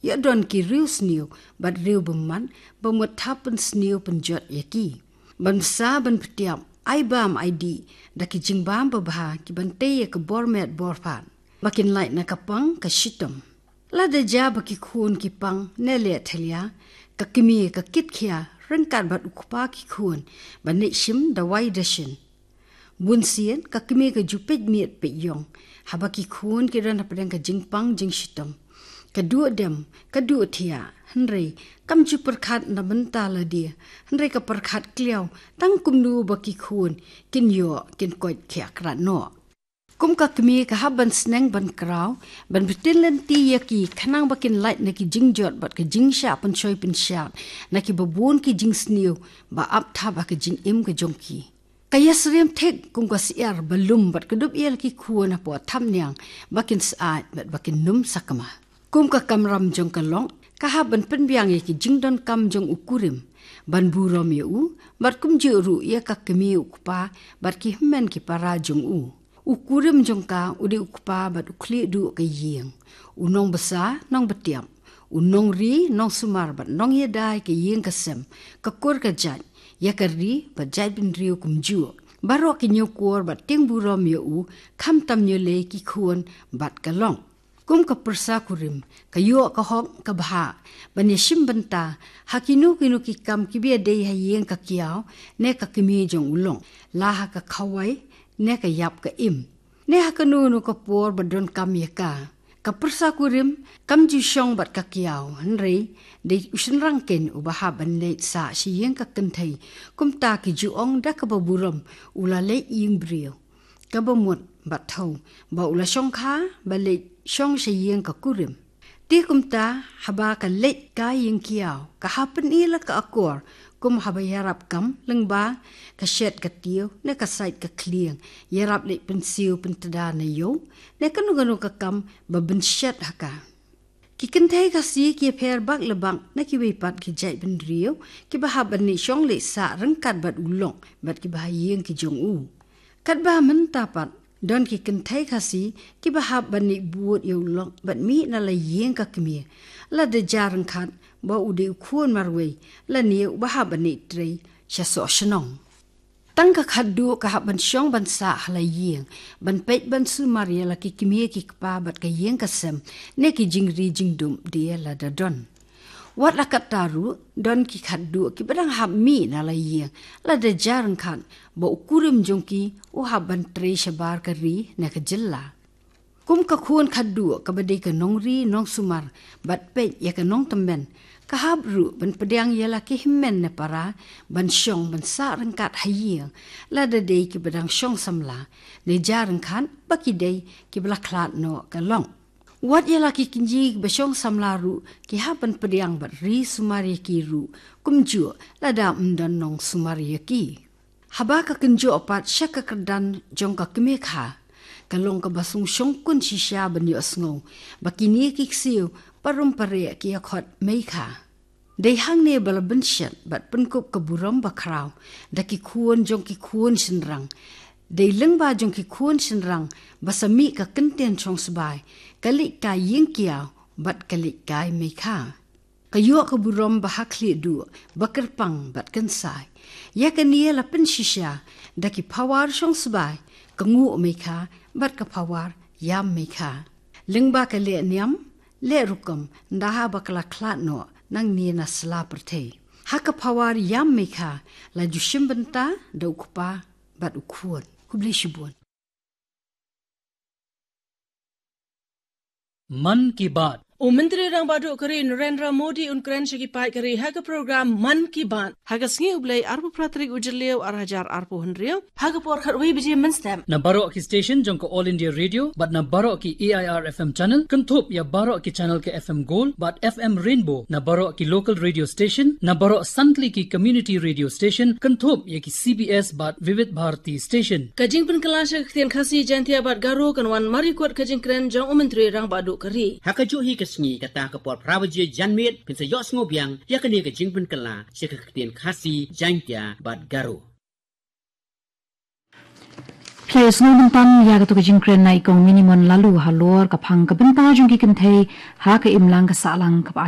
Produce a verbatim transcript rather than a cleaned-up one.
Ïa don ki riew sniew bad riew bymmat ba mut thap pynsniew pynjot ïa ki. Ban bsa ban pyntiap, ai bam ai dih da ki jingbam babha ki ban tei ïa ka bor met bor phad ba kin lait na ka pang ka shitom. Lada jia ba ki khun ki pang ne leh thalia, ka kmie ka kit khia ryngkat bad u kpa ki khun ban leit shim dawai dashin. Bun sien ka kmie ka ju peit miet peit ïong haba ki khun ki don hapdeng ka jingpang jingshitom. Ka duh dem, ka duh thiah, hynrei kam ju pyrkhat na bynta lade, hynrei ka pyrkhat kliaw tang kumno ba ki khun kin ïoh kin koit khia krat noh. Kum ka kmie ka hap ban sneng ban kraw ban btin lynti ïa ki khnang ba kin lait na ki jingjot bad ka jingshah pynshoi pynshad na ki babun ki jingsniew ba ap thap ha ka jingim ka jong ki. Ka ïasyriem thik kum ka syiar ba lum bad ka dup ïa la ki khun hapoh thapniang ba kin syaid bad ba kin nym sakma. Kum ka kamram jong ka lok ka hap ban pynbiang ïa ki jingdonkam jong u kurim ban burom ïa u bad kumjuh ruh ïa ka kmie u kpa bad ki hynmen ki para jong u. U kurim jong ka u dei u kpa bad u khlieh duh ka ïing, u nongbsa nongbtiap, u nongri nongsumar bad nongïada ïa ka ïing ka sem, ka kur ka jait, ïa ka ri bad jaitbynriew kumjuh. Baroh ki ñiewkor bad tieng burom ïa u, khamtam ñiewlei ki khun bad ka lok. Kum ka pyrsa kurim ka ïoh ka hok ka bha ban ïashim bynta ha kino kino ki kam kiba ïadei ha ïing ka kiaw ne ka kmie jong u lok, la ha ka khawai ne ka ïap ka im, ne ha kano kano ka por ba donkam ïa ka. Ka pyrsa kurim kam ju shong bad ka kiaw, hynrei dei u shynrang keiñ uba hap ban leit sah sha ïing ka kynthei. Kumta ki ju ong da kaba burom, u la leit ïing briew, kaba mut bad thew ba u la shongkha ba leit shong sha ïing ka kurim. Te kumta haba ka leit ka ïing kiaw, ka hap pyni la ka akor kum haba ïarap kam lyngba ka shet ka tiew ne ka sait ka khlieng, ïarap leit pynsiew pyntda na ïew ne kano kano ka kam ba pynshet ha ka. Ki kynthei Khasi ki ïapher bak la bak na kiwei pat ki jaitbynriew kiba hap ban leit shong leit sah ryngkat bad u lok bad kiba ha ïing ki jong u. Katba mynta pat don ki kynthei Khasi kiba hap ban leit bud ïa u lok bad mih na la ïing ka kmie, lada jia ryngkat ba u dei u khun marwei lane uba hap ban leit trei sha soh shnong. Tang ka khatduh ka hap ban shong ban sah ha la ïing, ban peit ban sumar ïa la ki kmie ki kpa bad ka ïing ka sem ne ki jingri jingdum die lada don. Wat la katta ruh, don ki khatduh kiba dang hap mih na la ïing, lada jia ryngkat ba u kurim jong ki u hap ban trei shabar ka ri ne ka jylla. Kum ka khun khatduh kaba dei ka nongri nongsumar bad peit ïa ka nongtymmen, ka hap ruh ban pdiang ïa la ki hynmen ne para ban shong ban sah ryngkat ha ïing, lada dei kiba dang shong samla, ne jia ryngkat ba ki dei kiba la khlad noh ka lok. Wat ïa la ki kynjih ba shong samla ruh ki hap ban pdiang bad ri sumar ïa ki ruh kumjuh lada ym don nongsumar ïa ki. Haba ka kynjoh pat sha ka kyrdan jong ka kmie kha, ka long kaba sngewshongkun shisha ban ïohsngew ba kine ki ksiew parum pareh ki ïa khot mei kha. Dei hangne ba la bynshet bad pynkup ka burom bakhraw da ki khun jong ki khun shynrang. Dei lyngba jong ki khun shynrang ba sa mih ka kyntien shongsbai, ka leit kai ïing kiaw bad ka leit kai mei kha. Ka ïoh ka burom ba ha khlieh duh, ba kyrpang bad kynsai. Ïa kane la pynshisha da ki phawar shongsbai, ka nguh mei kha bad ka phawar ïam mei kha. Lyngba ka leh niam leh rukom, ynda haba ka la khlad noh nangne na sla pyrthei, ha ka phawar ïam mei kha la ju shim bynta da u kpa bad u khun. Khublei shibun. Mann Ki Baat. U Myntri Rangbah Duh ka ri Narendra Modi un kren sha ki paid ka ri ha ka program Mann Ki Baat ha ka sngi U Blei arphew phra tarik u Jylliew ar hajar arphew hynriew, ha ka por khatwei baje mynstep. Na baroh ki station jong ka All India Radio bad na baroh ki A I R F M channel, kynthup ïa baroh ki channel ka F M Gold bad F M Rainbow, na baroh ki local radio station, na baroh san tylli ki community radio station, kynthup ïa ki C B S bad Vividh Bharati station. Ka jingpynkylla sha ka ktien Khasi, Jaiñtia bad Garo kan wan mar ïa kut ka jingkren jong u Myntri Rangbah Duh ka ri. Ha kajuh hi ka sngi, kata ka por phra baje janmiet, phin sa ïohsngew biang ïa kane ka jingpynkylla sha ka ktien Khasi, Jaiñtia bad Garo. Phi la ïohsngew mynta ïa kato ka jingkren na i Kong Minimon Laloo halor ka phang ka bynta jong ki kynthei ha ka imlang ka sahlang kaba